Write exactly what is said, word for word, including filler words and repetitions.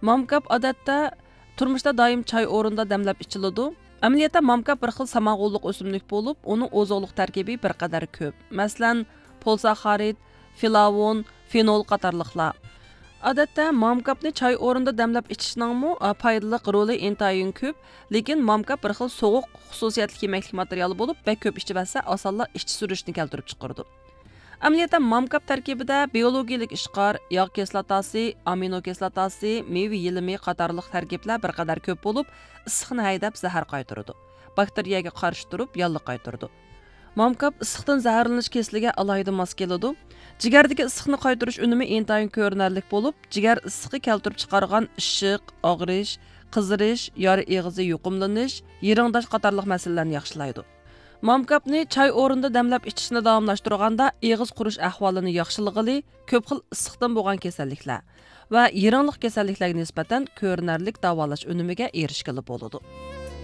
مامكاپ ئادەتتە تۇرمۇشتا دائىم چاي ئورنىدا دەملەپ ئىچىلىدۇ. ئەمەلىيەتتە مامكاپ بىر خىل سامان غوللۇق ئۆسۈملۈك بولۇپ، ئۇنىڭ ئوزۇقلۇق تەركىبى بىر قەدەر كۆپ. مەسىلەن، پولىساخارىد، فىلاۋون، فېنول قاتارلىقلار. ئادەتتە مامكاپنى چاي ئورنىدا دەملەپ ئىچىشنىڭمۇ، ئا، پايدىلىق رولى ئىنتايىن كۆپ، لېكىن مامكاپ بىر خىل سوغۇق خۇسۇسىيەتلىك يېمەكلىك ماتېرىيالى بولۇپ، بەك كۆپ ئىچىۋەتسە ئاسانلا ئىچ سۈرۈشنى كەلتۈرۈپ چىقىرىدۇ. ئەمەلىيەتتە مامكاپ تەركىبىدە بىيولوگىيىلىك ئىشقار، ياغ كىسلاتاسى، ئامىنو كىسلاتاسى، مېۋە يېلىمى قاتارلىق تەركىبلەر بىر قەدەر كۆپ بولۇپ، ئىسسىقنى ھەيدەپ زەھەر قايتۇرىدۇ. باكتېرىيەگە قارشى تۇرۇپ ياللۇغ قايتۇرىدۇ. مامكاپ ئىسسىقتىن زەھەرلىنىش كېسىلىگە ئالاھىدە ماس كېلىدۇ. جىگەردىكى ئىسسىقنى قايتۇرۇش ئۈنۈمى ئىنتايىن كۆرۈنەرلىك بولۇپ، جىگەر ئىسسىقى كەلتۈرۈپ چىقارغان ئىششىق، ئاغرىش، قىزىرىش، يارا ئېغىزى يۇقۇملىنىش، يىرىڭداش قاتارلىق مەسىلىلەرنى ياخشىلايدۇ. مامكاپنى چاي ئورنىدا دەملەپ ئىچىشنى داۋاملاشتۇرغاندا، ئېغىز قۇرۇش ئەھۋالىنى ياخشىلىغىلى، كۆپ خىل ئىسسىقتىن بولغان كېسەللىكلەر ۋە يىرىڭلىق كېسەللىكلەرگە نىسبەتەن كۆرۈنەرلىك داۋالاش ئۈنۈمىگە ئېرىشكىلى بولىدۇ.